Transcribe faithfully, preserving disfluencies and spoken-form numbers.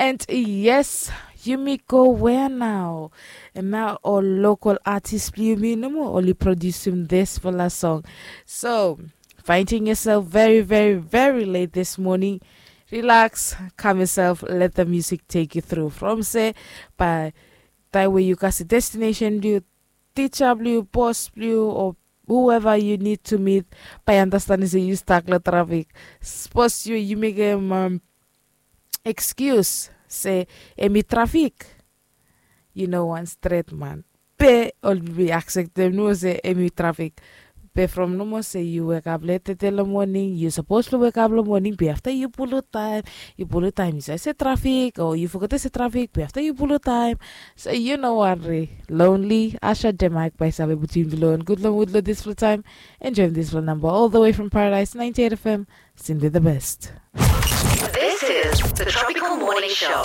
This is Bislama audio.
And yes, yumi go wea nao? And nao ol lokal atis blong yumi nomo oli produsim disfala song. So finding yourself very very very late this morning, relax, calm yourself, let the music take you through from se by taim we yu kasi destination blong yu, ticha blong yu, bos blong yu, o whoever you need to meet, bai understanding se yu stak long trafik. Suppose you you make a um, excuse se emi trafik, you know one straight man pe ol be acceptem no se emi trafik. Be from nomo se yu wake up late tete long morning, yu suppose to wake up long morning be after you pull time. You pull time, you say trafik, or you forget to say trafik be after you pull time. So you know what re lonely. Asha Demak by Sabe between below and good long wood lo this full time. Enjoy this full number all the way from Paradise ninety-eight F M. Cindy the best. This is the Tropical Morning Show.